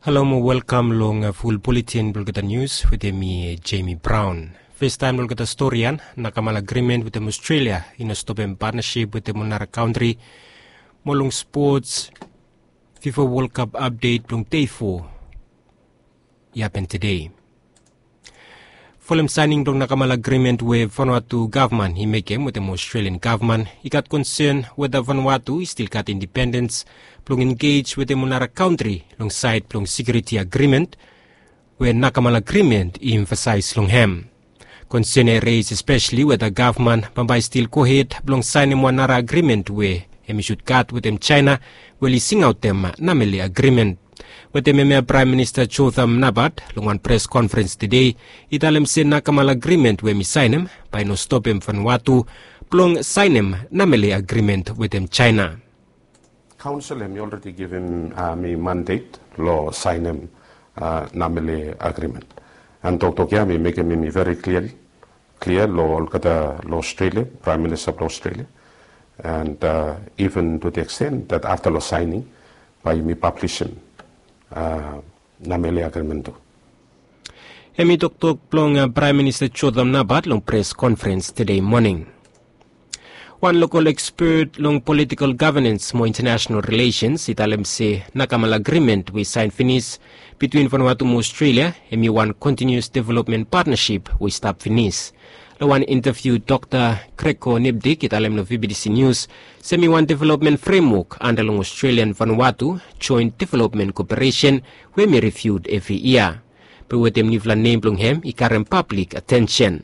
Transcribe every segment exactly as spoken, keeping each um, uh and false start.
Halo mo welkam long ful buletin blong olgeta nius wetem mi, Jamie Brown. Festaem long olgeta storian, Nakamala Agreement wetem Australia i no stopem patnasip wetem ol nara kantri. Mo long spots, FIFA World Cup apdet blong dei fo i hapen tede. Folem saening blong Nakamala Agreement we Vanuatu gavman i mekem wetem Australian gavman, i gat konsen weta Vanuatu i stil gat independens blong engej wetem ol nara kantri long saed blong sekiuriti agrimen we Nakamala Agreement i emfasaes long hem. Konsen ya i reis espeseli weta gavman bambae i stil gohed blong saenem wan nara agrimen we hem i sud gat wetem Jaena, we oli singaotem Namele Agrimen. Wetem hemia Praem Minista Jotham Napat long wan pres konferens tede i talem se Nakamala Agrimen we hem i saenem bae i no stopem Vanuatu blong saenem Namele Agrimen wetem Jaena. Kaonsel hem i olredi givim mi mandet long saenem Namele Agrimen. An toktok ya mi mekem hem i veri klia, klia long olgeta long Australia, Praem Minista blong Australia, an iven tu the extent that afta long saening bae yumi pablisim Namele Agrimen tu. Hem i toktok blong Praem Minista Jotham Napat long pres konferens tede moning. Wan lokol ekspet long politikol gavenens mo intanasenal rilesens i talem se Nakamala Agrimen we i saen finis bitwin Vanuatu mo Australia hem i wan kontinius developmen patnasip we i stap finis. Long wan intaviu Dokta Kreko Nipdik i talem long VBTC Nius se hem i wan developmen fremwok anda long Australia an Vanuatu joen developmen koperesen we hem i riviu evri yia. Be wetem niufala nem blong hem i karem pablik atensen.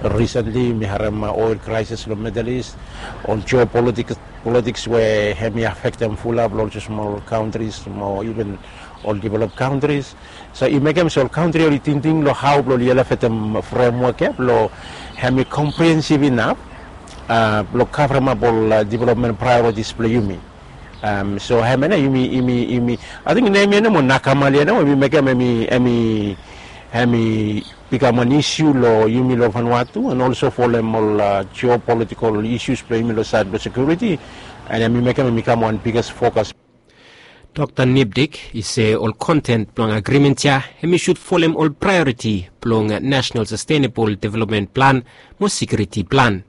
Risentli mi harem oil kraesis long Middle East, ol jeopolitiks we hem i afektem fulap long ol smol kantris mo iven ol develop kantris. So i mekem se ol kantri oli tingting long hao blong oli elevetem fremwok ya blong hem i komprehensiv inap blong kavremap ol developmen praeoritis blong yumi. So hemia nao yumi, yumi, yumi, ating nem ya nao mo Nakamala ya nao we mi mekem hem i, hem i, hem i bikam wan isiu long yumi long Vanuatu an olso folem ol jeopolitikol isius blong yumi long saed blong sekiuriti. An hem i mekem hem i kam wan biges fokas. Dokta Nipdik i se ol konten blong agrimen ya hem i sud folem ol praeoriti blong Nasenal Sastenabol Developmen Plan mo Sekiuriti Plan.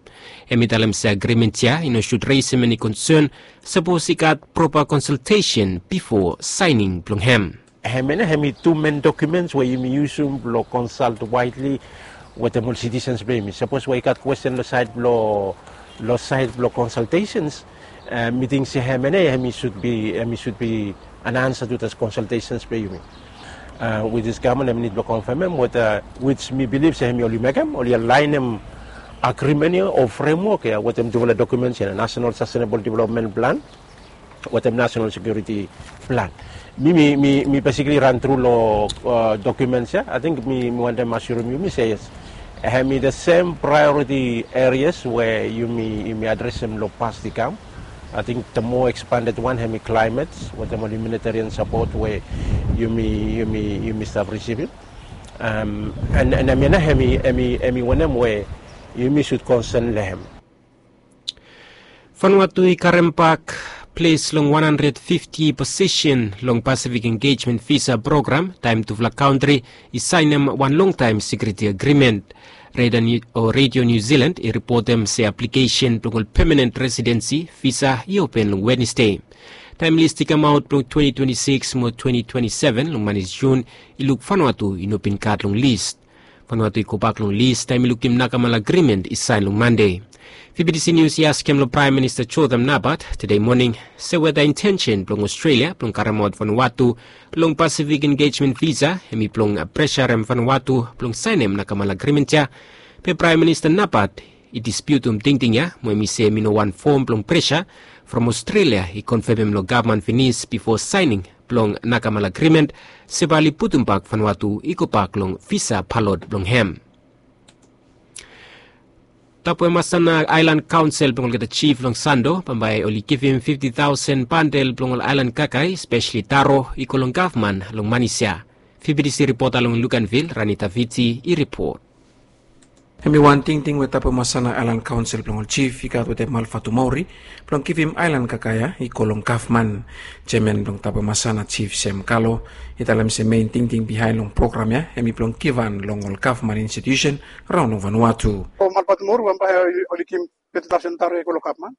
Hem i talem se agrimen ya i no sud resem eni konsen sapos i gat propa konsaltesen bifo saening blong hem. Hemia nao hem i tu men dokumens we yumi yusum blong konsalt waedli wetem ol sitisens blong yumi. Sapos we i gat kwesten long saed blong, long saed blong konsaltesens, mi ting se hemia nao hem i sud bi, hem i sud bi an ansa tu das konsaltesens blong yumi. With this gavman hem i nid blong konfemem weta, wits mi bilif se hem i oli mekem, oli alaenem agrimen ya o fremwok ya wetem tufala dokumens ya, Nasenal Sastenabol Developmen Plan wetem Nasenal Sekiuriti Plan. Mi, mi, mi, mi besikli ran tru long dokumens ya. Ating mi, mi wantem asurim yumi se yes, hem i the sem praeoriti erias we yumi, yumi adresem long past i kam. Ating the more ekspanded wan hem i klaemet wetem ol humanitarian sapot we yumi, yumi, yumi stap risivim. An, an hemia nao hem i, hem i, hem i wanem we yumi sud konsen long hem. Vanuatu i karem bak ples long wan handred fifti posisen long Pasifik Engejmen Visa Program taem tufala kantri i saenem wan longtaem sekiuriti agrimen. Redio Niu Silan i ripotem se aplikesen blong ol pemanen residensi visa i open long Wednesde. Taem lis i kamaot blong twenti twenti sikis mo twenti twenti seven long manis Jun i luk Vanuatu i no bin gat long lis. Vanuatu i gobak long lis taem i lukim Nakamala Agrimen i saen long Mande. VBTC Nius i askem long Praem Minista Jotham Napat tede moning se weta intensen blong Australia blong karemaot Vanuatu long Pasifik Engejmen Visa hem i blong presarem Vanuatu blong saenem Nakamala Agrimen ya. Be Praem Minista Napat i dispiutum tingting ya mo hem i se hem i no wan fom blong presa from Australia i konfemem long gavman finis bifo saening blong Nakamala Agrimen se bae oli putumbak Vanuatu i gobak long visa balot blong hem. Tapuemasana Aelan Kaonsel blong olgeta jif long Sando bambae oli givim fifti taosen bandel blong ol aelan kakae, espeseli taro, i go long gavman long manis ya. VBTC ripota long Luganvil, Rani Taviti i ripot. Hem i wan tingting we Tabemasana Aelan Kaonsel blong ol Jif i gat wetem Malvatumauri blong givim aelan Kakaia i go long gavman. Jeaman blong Tabemasana, Jif Sem Kalo, i talem se mein tingting bihaen long program ya hem i blong givhan long ol gavman institiusen raon long Vanuatu. Malvatumauri bambae oli givim teti taosen taro ya i go long gavman.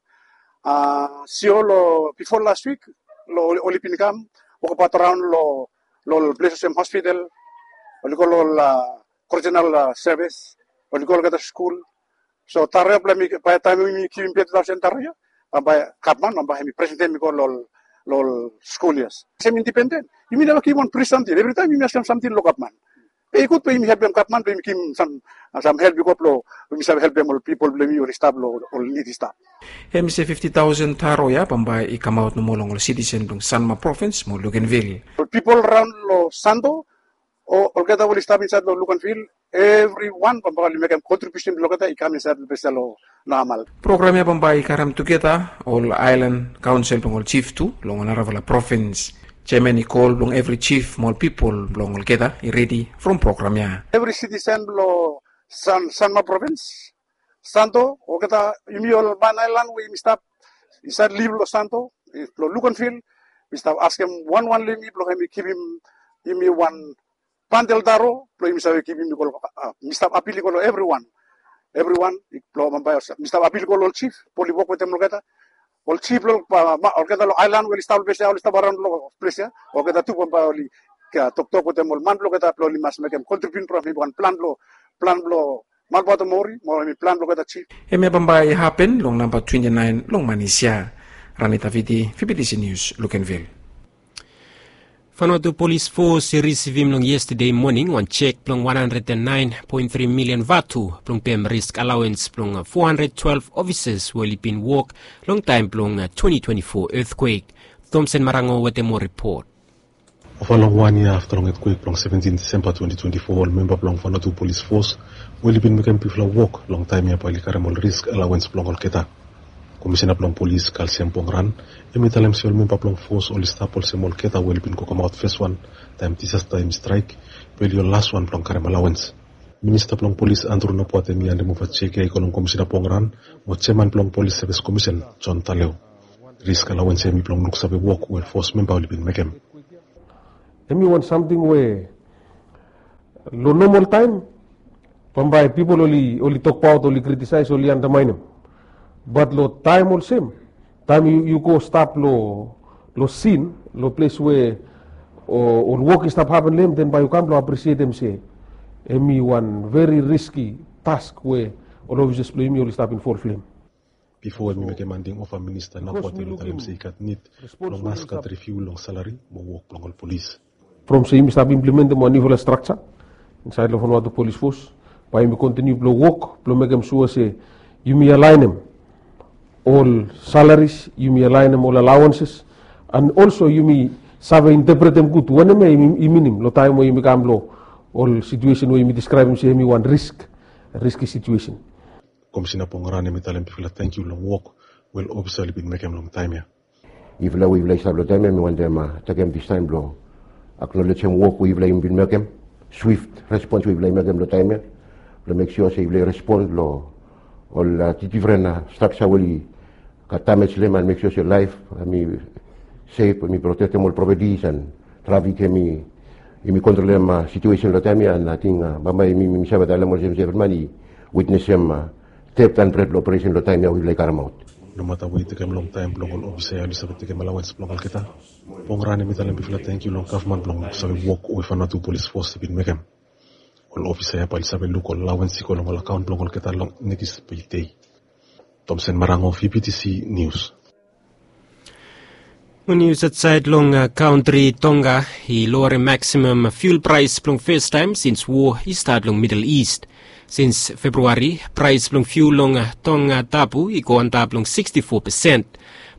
Sio, long bifo las wik oli bin kam wokabaot raon long ol ples olsem hospital, oli go long ol korijinal sevis, oli go olgeta skul. So taro ya blong hem i, bae taem yumi givim teti taosen taro ya, bambae gavman bambae hem i presentem i go long ol skul ya olsem indipenden. Yumi neva givim wan pri samting, evritaem yumi askem samting long gavman. Be i gud blong yumi helpem gavman blong yumi givim sam help i go blong yumi save helpem ol pipol blong yumi oli stap long ol nid i stap. Hem i se fifti taosen taro ya bambae i kamaot nomo long ol sitisen blong Sanma Provins mo Luganville. Ol pipol raon long Santo, olgeta we oli stap insaed long Luganville, evriwan bambae oli mekem kontribiusen blong olgeta i kam insaed long ples ya long nomal. Program ya bambae i karem tugeta ol aelan kaonsel blong ol jif tu long ol narafala provins. Jeaman i kol blong evri jif mo ol pipol blong olgeta i redi from program ya. Evri sitisen blong Sanma Provins, Santo, olgeta yumi ol man aelan we yumi stap insaed liv long Santo, long Luganville, mi stap askem wanwan long yumi blong hem i givim yumi wan bandel taro blong yumi save givim i go long, mi stap apil i go long evriwan. Evriwan blong bambae mi stap apil i go long ol jif blong oli wok wetem olgeta. Ol jif blong olgeta long aelan we oli stap long ples ya, oli stap araon long ples ya, olgeta tu bambae oli toktok wetem ol man blong olgeta blong oli mas mekem kontribiusen from hem i wan plan blong, plan blong Malvatumauri mo hem i plan blong olgeta jif. Hemia bambae i hapen long namba twenti naen long manis ya. Rani Taviti, V B T C News, Luganville. Vanuatu Polis Fos i risivim long yestade moning wan jek blong wan handred and naen poen tri milian vatu blong pem risk alawens blong fo handred twelef ofisas we oli bin wok long taem blong twenti twenti fo etkwek. Tomsen Marango wetem moa ripot. Ova long wan yia afta long etkwek blong seventin Disemba twenti twenti fo, ol memba blong Vanuatu Polis Fos we oli bin mekem bigfala wok long taem ya bae oli karem ol risk alawens blong olgeta. Komisena blong polis Kalsiam Pongran hem i talem se ol memba blong fos oli stap olsem olgeta we oli bin go kamaot feswan taem disasta hem i straek, be oli ol laswan blong karem alawens. Minista blong polis Andru Nobuat hem i handemova jek ya i go long Komisena Pongran mo jeaman blong Polis Sevis Komisen Jon Taleo. Risk alawens ya hem i blong luksave wok we fos memba oli bin mekem. Hem i wan samting we long nomol taem bambae pipol oli, oli tokbaot, oli kritisaes, oli andamaenem. Bat long taem olsem, taem yu, yu go stap long, long sin, long ples we ol wok i stap hapen long hem, den bae yu kam blong apresietem se hem i wan veri riski task we ol ofisas blong yumi oli stap involv long hem. Bifo hem i mekem handing ova, Minista Nobuat hem i talem se i gat nid blong mas gat riviu long salari mo wok blong ol polis. From se yumi stap implementem wan niufala strakja insaed long Vanuatu Polis Fos, bae yumi kontiniu blong wok blong mekem sua se yumi alaenem ol salaris, yumi alaenem ol alawenses, and also yumi save intepretem gud wanem ya i minim long taem we yumi kam long ol situesen we yumi diskraebem se hem i wan risk, riski situesen. Komisena Pongran hem i talem bigfala tangkiu long wok we ol ofisa oli bin mekem long taem ya. Yufala we yufala i stap long taem ya, mi wantem tekem dis taem blong aknolejem wok we yufala i bin mekem, swift respons we yufala i mekem long taem ya, blong mek sua se yufala i respon long ol difren strakja we oli gat damej long hem, and mek sua se laef hem i sef, hem i protektem ol propetis, and trafik hem i, hem i kontrolem situesen long taem ya. And ating bambae yumi, yumi save talem olsem se evri man i witnesem teft and bred blong operesen long taem ya we yufala i karemaot. Nomata we i tekem longtaem blong ol ofisa ya oli save tekem alawens blong olgeta, Pongran hem i talem bigfala tangkiu long gavman blong save wok we Vanuatu Polis Fos i bin mekem. Ol ofisa ya bae oli save luk ol alawens i go long ol akaon blong olgeta long nekis pei dei. Tomsen Marango, V B T C Nius. Nius aotsaed long kantri. Tonga i lowerem maksimam fiul praes blong fastaem sins woa i stat long Midel Ist. Sins Februari, praes blong fiul long Tongatapu i go antap long siksti fo pesen.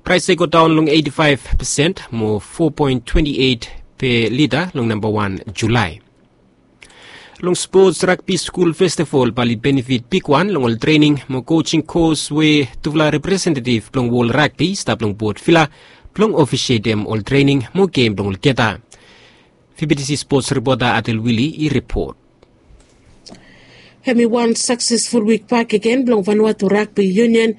Praes ya i go daon long eiti faef pesen mo fo poen twenti eit pe lita long namba wan Julae. Long spots, Ragbi Skul Festival bae oli benefit bigwan long ol trening mo kojing kos we tufala representetiv blong wol ragbi i stap long Port Vila blong ofisietem ol trening mo gem blong olgeta. V B T C spots ripota Adel Wili i ripot. Hem i wan saksesful wik bakegen blong Vanuatu Ragbi Union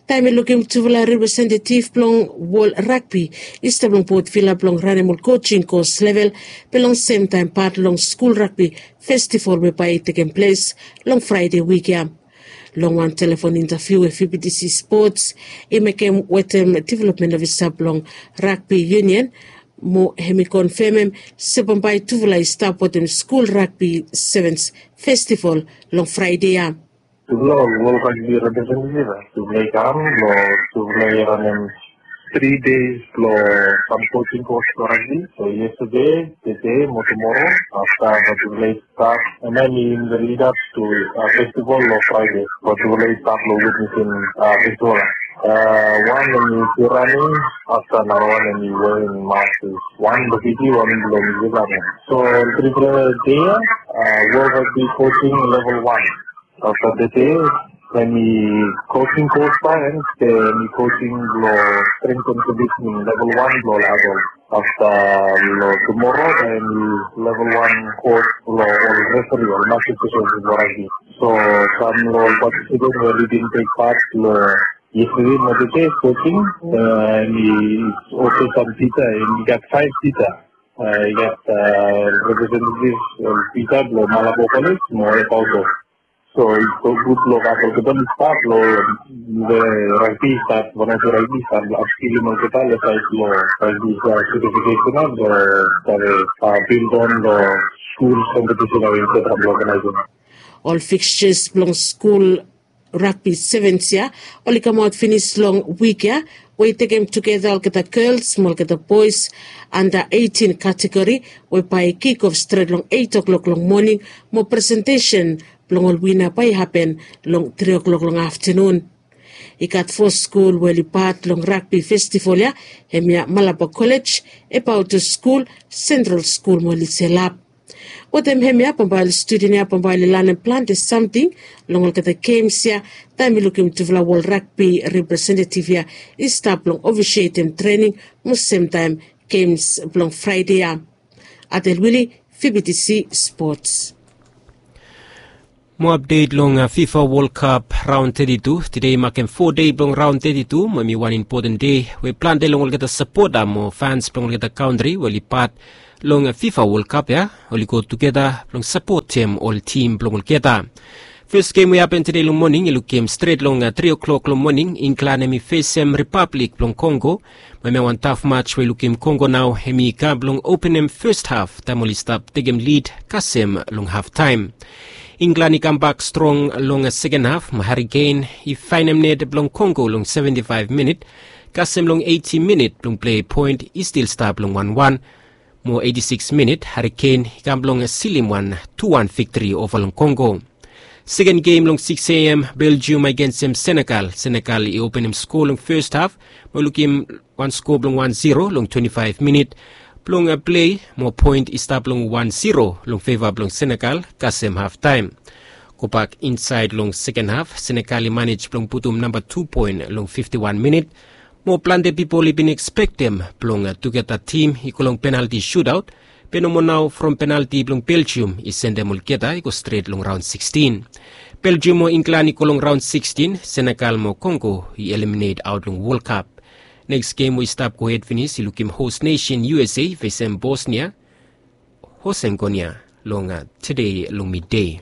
taem i lukim tufala representetiv blong wol ragbi i stap long Port Vila blong ranem ol kojing kos level be long semtaem pat long skul ragbi festival we bae i tekem ples long Fraede wik ya. Long wan telefon intaviu we V B T C Sports i mekem wetem development ofisa blong Ragbi Union, mo hem i konfemem se bambae tufala i stap wetem skul ragbi sevens festival long Fraede ya. Tufala ol wol ragbi representetiv ya, tufala i kam long tufala i ranem tri deis long sam kojing kos blong ragbi. So yestede, tede mo tumoro afta bae tufala i stap, and then in the lead up to festival long Fraede bae tufala i stap long witnesim festival. Wan hem i ranem, afta narawan hem i werim mask. Wan blong Fiji, wan blong New Zealand. So tripela dei ya, wol ragbi kojing level wan. Afta tede hem i kojing kos bae, and hem i kojing blong strength and conditioning level wan blong ol adult. Afta long tumoro bae hem i level wan kos blong ol referi, ol master specialist blong ragbi. So sam long ol participant we oli bin tek pat long yestede mo tede kojing, hem i olsem sam tisa, hem i gat faef tisa. I gat representetiv ol tisa blong Malabo College mo Epauto. So i go gud long gat olgeta oli stap long ragbi, stap Vanuatu ragbi, stap long apskilim olgeta long saed blong ragbi certification ya blong save bildon long skul kompetisen ya we i stap long oganaesem. Ol fixtures blong skul ragbi sevens ya oli kamaot finis long wik ya, we i tekem tugeta olgeta gels mo olgeta boes anda eitin kategori, we bae i kik of stret long eit o'klok long moning, mo presentesen blong ol wina bae i hapen long tri o'klok long aftanun. I gat fo skul we oli pat long ragbi festival ya, hemia Malabo College, Epauto Skul, Sentral Skul mo Liselap. Wetem hemia bambae ol studen ya bambae oli lanem plante samting long olgeta gems ya, taem i lukim tufala wol ragbi representetiv ya i stap long ofisietem trening mo semtaem gems blong Fraede ya. Adel Wili, V B T C Sports. Mo apdet long FIFA World Cup raon teti tu. Tede i makem fo dei blong raon teti tu, mo hem i wan impoten dei we plante long olgeta sapota mo fans blong olgeta kantri we oli pat long FIFA World Cup ya oli go tugeta blong sapotem ol tim blong olgeta. Fes gem we i hapen tede long moning i lukim stret long tri o'klok long moning, Inglan hem i fesem Ripablik blong Kongo. Mo hemia wan taf maj we i lukim Kongo nao hem i kam blong openem fes haf taem oli stap tekem lid kasem long haftaem. Inglan i kambak strong long seken haf mo Hari Kein i faenem net blong Kongo long seventi faef minit, kasem long eiti minit blong plei poen i stil stap long wanwan, mo eiti sikis minit Hari Kein i kam blong silim wan tu wan viktori ova long Kongo. Seken gem long sikis A M, Beljium agensem Senegal. Senegal i openem skoa long fes haf mo lukim wan skoa blong wan ziro long twenti faef minit blong plei, mo poen i stap long wan ziro long feva blong Senegal kasem haftaem. Gobak insaed long seken haf, Senegal i manej blong putum namba tu poen long fifti wan minit, mo plante pipol i bin ekspektem blong tugeta tim i go long penalti sutaot, be nomo nao from penalti blong Beljium i sendem olgeta i go stret long raon sikstin. Beljium mo Inglan i go long raon sikstin, Senegal mo Kongo i eliminet aot long World Cup. Neks gem we i stap gohed finis i lukim hos nesen U S A fesem Bosnia Hosengonia long tede long midei.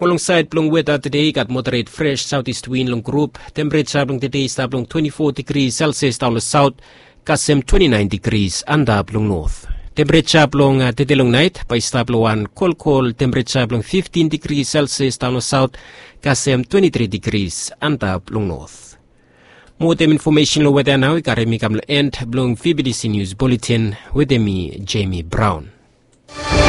Mo long saed blong weta tede i gat moderet fres saotis win long grup. Tempereja blong tede i stap long twenti fo digri Celsius daon long saot, kasem twenti naen digris antap long not. Tempereja blong tede long naet bae i stap long wan kolkol tempereja blong fiftin digri Celsius daon long saot, kasem twenti tri digris antap long not. Mo wetem infomesen long weta nao i karem mi kam long en blong V B T C Nius Buletin wetem mi, Jemi Braon.